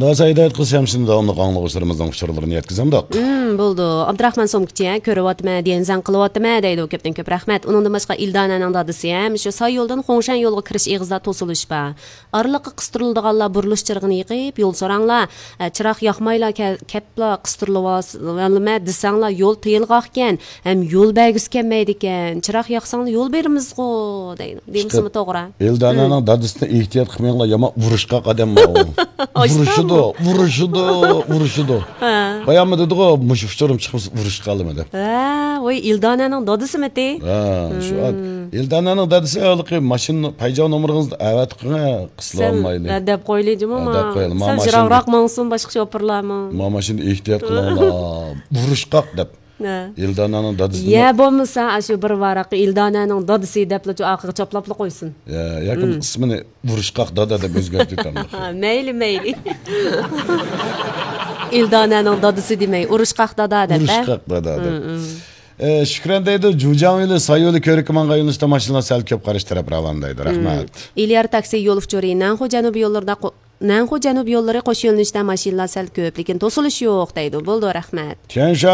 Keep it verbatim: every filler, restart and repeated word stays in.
داسا ھىدايەت قىلسا ھەم شۇنى داۋاملىق ئاڭلىغۇچىلىرىمىزنىڭ ئۇچۇرلىرىنى يەتكۈزەمدۇق. ھىم، بولىدۇ. ئابدۇراخمان سومكىچى، ھە، كۆرۈۋاتىمەن، دېگەن زەڭ قىلىۋاتىمەن دەيدۇ. كۆپتىن كۆپ رەھمەت. ئۇنىڭدىن باشقا ئىلدانەنىڭ دادىسى ھەم شۇ ساي يولدىن خۇڭشەن يولغا كىرىش ئېغىزىدا توسۇلۇش بار. ئارىلىققا قىستۇرۇلىدىغانلار بۇرۇلۇش چىرىغىنى يېقىپ، يول سوراڭلار، ئە، چىراغ ياقمايلا كە-، كەپلا قىستۇرۇلۇۋالىمەن دېسەڭلار، يول تېيىلغاقكەن، ھەم يول بەرگۈسى كەلمەيدىكەن. چىراغ ياقساڭلار يول بېرىمىزغۇ دەيدۇ. دېمىسىمۇ توغرا. ئىلدانەنىڭ دادىسىنى ئېھتىيات قىلماڭلار، يامان ئۇرۇشقاق ئادەم ئۇ. ئۇرۇشىدۇ، ئۇرۇشىدۇ، ئۇرۇشىدۇ. ھە. باياممۇ دېدىغۇ، مۇشۇ ئۇچۇرۇم چىقمىسا ئۇرۇشقا قالىمەن دەپ. ھە، ۋاي، ئىلدانەنىڭ دادىسىمىتى؟ ھە، شۇ ئىلدانەنىڭ دادىسى ھېلىقى ماشىنا پايجا نومۇرىڭىزنى ئەۋەتىپ قويۇڭ، قىسىلالمايلى. ھە، دەپ قويلى جۇمۇ. ھە، دەپ قويلى. سەل يىراقراق ماڭسۇن باشقا شوپۇرلارمۇ. ما ماشىنىدا ئېھتىيات قىلىڭلار. ئۇرۇشقاق دەپ. ھە. ئىلدانەنىڭ دادىسى. يا بولمىسا، ئاشۇ بىر ۋاراققا ئىلدانەنىڭ دادىسى دەپلا شۇ ئارقىغا چاپلاپلا قويسۇن. يا، ياكى ئىسمىنى ئۇرۇشقاق دادا دەپ ئۆزگەرتىۋېتەمدۇ؟ ھە، مەيلى، مەيلى. ئىلدانەنىڭ دادىسى دېمەي، ئۇرۇشقاق دادا دەپ، ھە؟ ئۇرۇشقاق دادا دەپ. ئە، شۈكران دەيدۇ، جۇجياڭ يولى، ساي يولى كۆۋرۈككە ماڭغان يۆنىلىشتە ماشىنىلار سەل كۆپ قارشى تەرەپ راۋان دەيدۇ. رەھمەت. ئېلىيار تاكسى يول ئۇچۇرى، نەنخۇ جەنۇبىي يوللىرىدا قو-، نەنخۇ جەنۇبىي يوللىرى قوش يۆنىلىشتە ماشىنىلار سەل كۆپ، لېكىن توسۇلۇش يوق دەيدۇ. بولىدۇ، رەھمەت. تيەنشان